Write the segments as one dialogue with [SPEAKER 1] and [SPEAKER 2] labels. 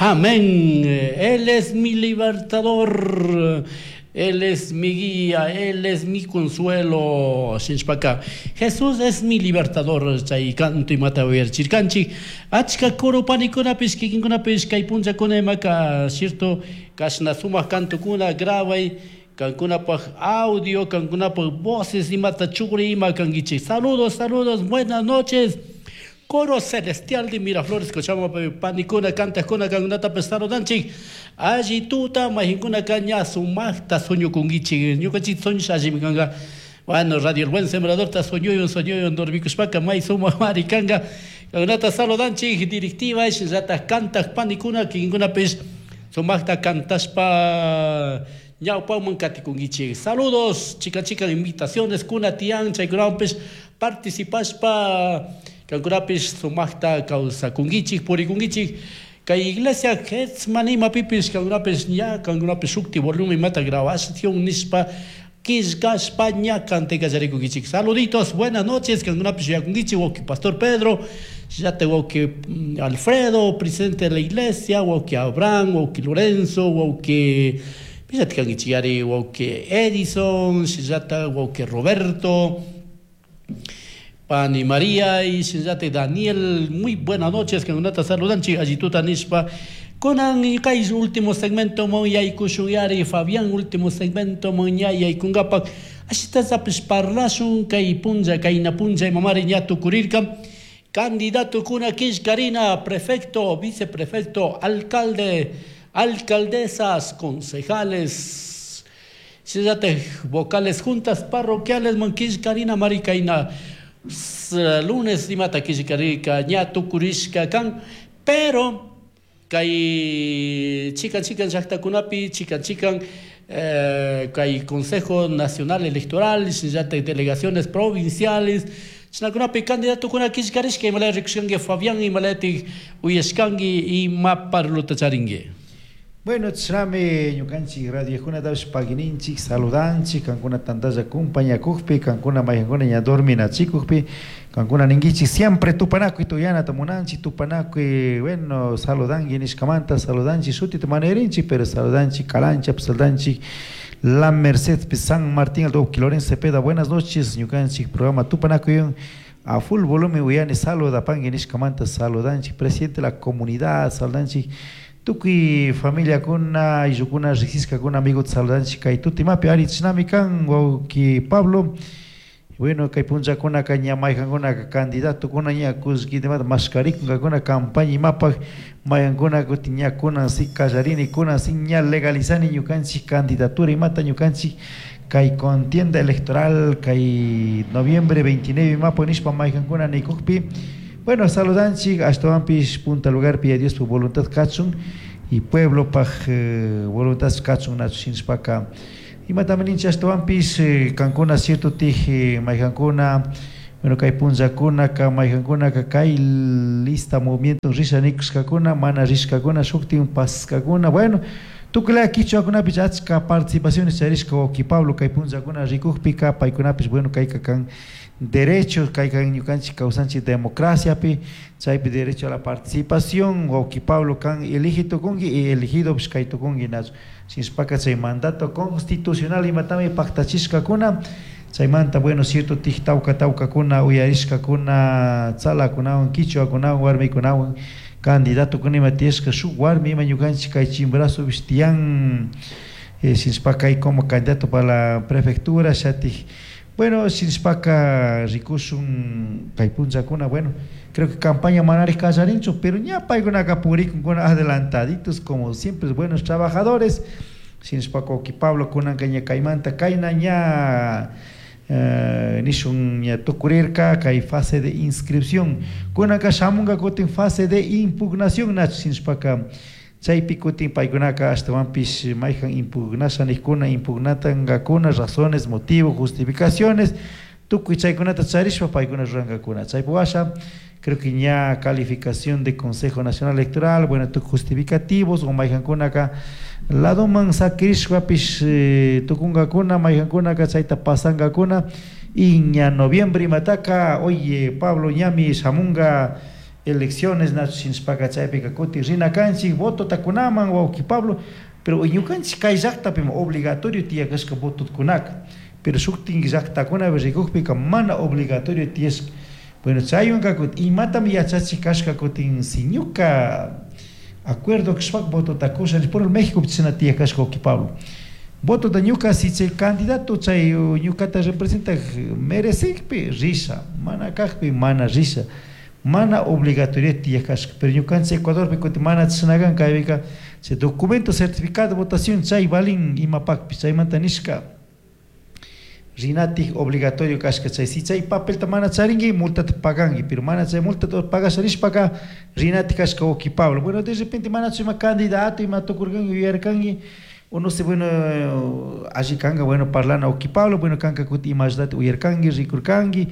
[SPEAKER 1] Amén. Él es mi libertador. Él es mi guía, Él es mi consuelo. Shinshpaka. Jesús es mi libertador. Chay canto imata uyarichirkanchik. Achka coro panikunapish, kikinkunapish, kay punllakuna imaka, cierto, kashna sumak cantukuna grabay, kankunapaj audio, kankunapaj voces imata chugri ima kankichik. Saludos, saludos, buenas noches. Coro Celestial de Miraflores, Cochabamba, panikuna, kantakuna, kankunatapish saludanchik. Alli tuta, mayqinkunaka ña sumakta sueñokunkichik. Ñukanchik sueños allimi kanka. Bueno, Radio El Buen Sembradorta sueñoyun, sueñoyun, dormikushpaka may sumak mari kanka. Kankunata saludanchik, directiva, shinallatak kantak panikuna, kikinkunapish sumakta kantashpa ñawpaman katikunkichik. Saludos, chikan chikan invitaciones kuna tiyan, chaykunawanpish participashpa kankunapish sumakta kawsakunkichik, purikunkichik. Kay iglesia Getsemaní imapipis kankunapish ña kankunapish shukti volumen imata grabación nishpa killkashpa ña cantay kallarikunkichik. Saluditos, buenas noches, kankunapish yuyakunkichik, wawqi Pastor Pedro, llata wawqi Alfredo, presidente de la iglesia, wawqi Abraham, wawqi Lorenzo, wawqi pillata kankichik ari, wawqi Edison, shillata wawqi Roberto, Pani María y shillata Daniel, muy buenas noches, kankunata saludanchik, allituta nishpa. Kunan kay último segmento mon yaykushun yari, Fabián, último segmento mon ña yaykunkapak. Ashitallapish parlashun kay punlla, kayna punlla imamari ña tukurirka. Candidato kuna killkarina, prefecto, viceprefecto, alcalde, alcaldesas, concejales, shillata vocales juntas parroquiales man killkarina mari kayna lunes imata killkarika ña tukurishka kan, pero kay chikan chikan llaktakunapi, chikan chikan kay Consejo Nacional Electoral, shillata delegaciones provinciales, chaykunapi candidato kuna killkarishka imalaya rikushkanki Fabián, imalayatik uyashkanki ima parluta charinki.
[SPEAKER 2] Bueno, chrame ñukanchik radiokunatapish pagininchik, saludanchik, kankuna tantalla kumpañakukpi, kankuna mayqankuna ña dorminachikukpi, kankuna ninkichik siempre tupanakuy tuyanata munanchik, tupanakuy, bueno, saludanki nishkamanta, saludanchik shutita manerinchik, pero saludanchik Calancha, saludanchik La Merced, San Martín, Alto Lorenzo Cepeda, buenas noches, ñukanchik programa tupanakuy a full volumen uyani saludapanki nishkamanta, saludanchik, presidente de la comunidad, saludanchik, tukuy familiakuna, ayllukuna, riqsishkakuna, amigota saludanchik kay tutimapi ari chinami kan wawqi Pablo. Bueno, kay punllakunaka ña mayqankunaka candidatokuna ña kullkitimata mashkarikunkakuna campaña imapaj mayqankuna kutin ña kunan si kallarini, kunan si ña legalizani ñukanchik candidatura imata ñukanchik kay contienda electoral kay noviembre 29 imapaj nishpa mayqankuna nikukpi. Bueno, saludanchik ashtawanpish punta lugarpi ya Dios voluntad kachun y pueblo paj voluntad kachun nachu shinshpaka imatami ninchik ashtawanpish kankuna cierto tij mayqankuna, bueno, kay punllakunaka mayqankunaka kay lista movimiento risha nikushkakuna mana rishkakuna shuktin paskakuna, bueno, tukuylaya kichwakunapish achka participaciones charishka wawqi Pablo kay punllakuna rikukpika paykunapish, bueno, kayka kan derecho, kayka ñukanchik kawsanchik democraciapi, chaypi derecho a la participación, wawqi Pablo kan elige tukunki y elegidopish kay tukunki nachu shinashpaka chay mandato constitucional imatami paktachishkakuna chaymanta, bueno, cierto tij tawka tawkakuna uyarishkakuna tzalakunawan kichwakunawan warmikunawan candidatokuna ima tiyashka shuk warmi ima ñukanchik kay Chimborazopish tiyan, shinashpaka kay como candidato para la prefectura shatik, bueno, shinashpaka rikushun kay punllakuna, bueno, creo que campaña manarik kallarinchu, pero ña paykunaka purikunkuna adelantaditos como siempre buenos trabajadores, shinashpaka wawqi Pablo kunanka ña kaymanta kayna ña nishun ña tukurirka kay fase de inscripción, kunanka shamunka kutin fase de impugnación nachu shinashpaka chaypi kutin paykunaka ashtawanpish mayjan impugnasha nijkuna impugnatankakuna razones, motivos, justificaciones, tukuy chaykunata charishpa paykuna rurankakuna, chaypi washa creo que ña calificación de Consejo Nacional Electoral, bueno, tukuy justificativos o mayjankunaka ladoman sakirishpapish tukunkakuna mayjankunaka chayta pasankakuna y ña noviembre imataka, oye Pablo ñami shamunga Elecciones nachu shinashpaka chaypika kutin rina kanchik votota kunaman, wawki Pablo. Pero ñukanchik kay llaqtapimi obligatorio tiyakashka votokunaka, pero shuktin llaqtakunapi rikukpika mana obligatorio tiyashka. Bueno, chaywanka kutin imatami yachachik kashka kutin si ñuka acuerdo kashpaka votota kusha. Por México chashna tiyakashka, wawki Pablo. Votota ñuka si chay candidato chay ñukata representak merecikpi risha, mana kakpi mana risha, mana obligatorio tiyak kashka. Pero ñukanchik Ecuadorpi kutin mana chashna kan. Kaypika chay documento certificado de votación chay valin imapakpish. Chaymanta nishka rinatik obligatorio kashka chay. Si chay papelta mana charinki, multata paganki, pero mana chay multata pagasha nishpaka rinatik kashka, wawki Pablo. Bueno, de repente manachu ima candidato ima tukurkanki yuyarkanki o no sé. Bueno, alli kanka, bueno, parlana, wawki Pablo. Bueno, kanka kutin ima ayudata uyarkanki, rikurkanki.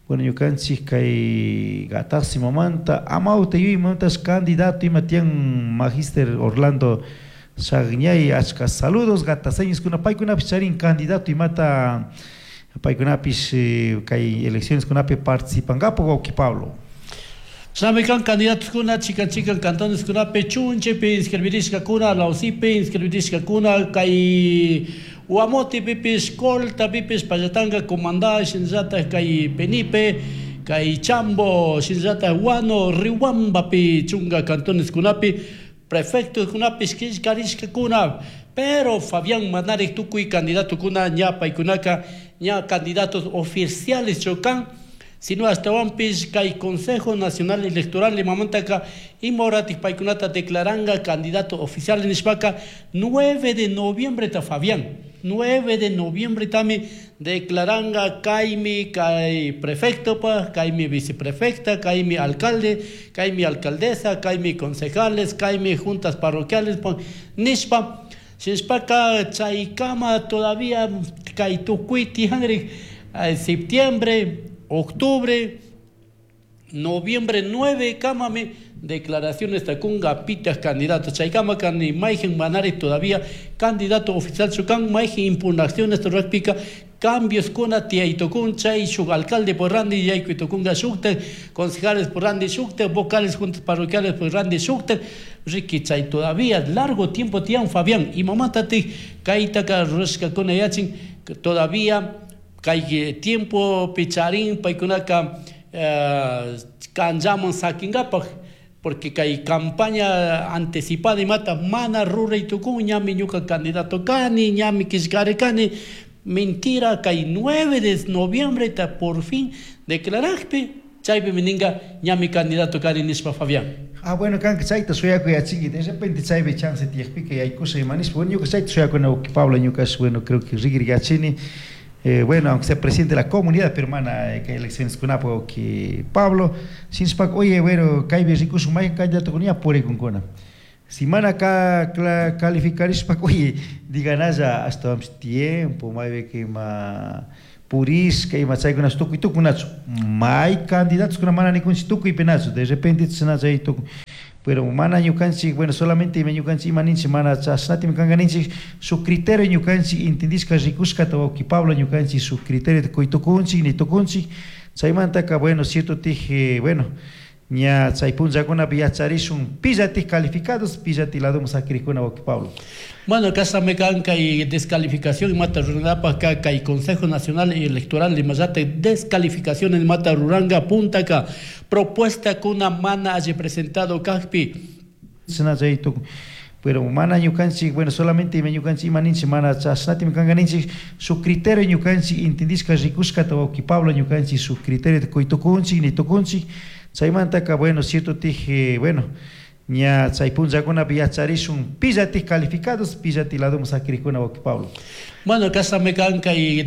[SPEAKER 2] Bueno, ñukanchik kay Gatasimamanta amawta yuyaymantash candidato ima tiyan, Magister Orlando Shagñay, achka saludos gataseñoskuna. Paykunapish charin candidato imata, paykunapish kay elecciones kunapi participankapak, wawki Pablo.
[SPEAKER 1] Shinami kan candidatos chikan chikan cantones kunapi chunchepi inscribirishkakuna, Lausipi inscribirishkakuna, kay Guamotepipish, Coltapipish, Pallatanga, Comandá, shinallatak kay Penipe, kay Chambo, shinallatak Guano, Riobambapi, chunga cantones kunapi prefectos kunapish killkarishkakuna. Pero Fabián, manarik tukuy candidatokuna ña paykunaka ña candidatos oficiales kan, sino ashtawanpish kay Consejo Nacional Electoral imamantaka ima horatik paykunata declaranga candidato oficial nishpaka 9 de noviembre ta, Fabián, 9 de noviembre tami declaranga kaymi kay prefecto pa, kaymi viceprefecta, kaymi alcalde, kaymi alcaldesa, kaymi concejales, kaymi juntas parroquiales pa nishpa. Shinashpaka chaykama todavía kay tukuy tiyanrik septiembre, octubre, noviembre 9 kamami declaraciones takunga pitas candidato. Chaykama kani mayjin manari todavía candidato oficial chukan. Mayjin impugnaciones rurakpika cambios kuna tiyaytukun. Chay shuk alcalde por randi yaykuytukunga shukta, concejales por randi shukta, vocales juntas parroquiales por randi shukta. Riki, chay todavía largo tiempo tiyan, Fabián. Imamatatik kaytaka rurashkakuna yachin? Todavía kay tiempo picharin paykunaka kanllaman sakingapak, porque kay campaña anticipada imata mana ruray tukun, ñami ñuka candidato kani, ñami killkari kani. Mentira. Kay 9 de noviembre ta por fin declarakpi chaypi ninga ñami candidato kani nishpa, Fabián.
[SPEAKER 2] Ah, bueno, kanka chayta shuyakuyachinki, de repente chaypi chance tiyakpika yaykusha ima nishpa. Bueno, ñuka chayta shuyakuna, Pablo, ñukash, bueno, creo que rigrigachini. Bueno, aunque sea presidente de la comunidad, pero mana kay elecciones kunapak, que Pablo, shinashpaka, oye, bueno, kaypi rikushun maykan candidato ña purikunkuna. Si mana calificarishpaka, oye, diganalla ashtawanpish tiempo, maypi ima purishka ima chaykunash tukuy tukunachu. May candidatos kuna mana nikunchik tukuypinachu, de repente chashna chay tukun. Pero mana ñukanchik, bueno, solamente ima ñukanchik ima ninchik mana chashnatimi kanka ninchik shuk criterio ñukanchik entendishka rikushkata, wawki Pablo, ñukanchik shuk criterio kuy tukunchik ni tukunchik. Chaymantaka, bueno, cierto tij, bueno, ña chay punllakunapi yacharishun pillatik calificados, pillatik ladoman sakirikuna, wawki Pablo.
[SPEAKER 1] Bueno, kasame kan kay descalificación mata rurangapak kay Consejo Nacional Electoral imallata descalificación mata ruranga puntaka propuesta kuna mana alli presentado kakpi.
[SPEAKER 2] Chashna chay tukun. Pero mana ñukanchik, bueno, solamente ima ñukanchik ima ninchik mana chashnatimi kanka ninchik shuk criterio ñukanchik entendishka rikushkata, wawki Pablo, ñukanchik shuk criterio kuy tukunchik ni tukunchik. Chaymantaka, bueno, cierto tij, bueno, ña chay punllakunapi yacharishun pillatik calificados, pillatik ladoman sakirikuna, wawki Pablo.
[SPEAKER 1] Bueno, kasame kan kay.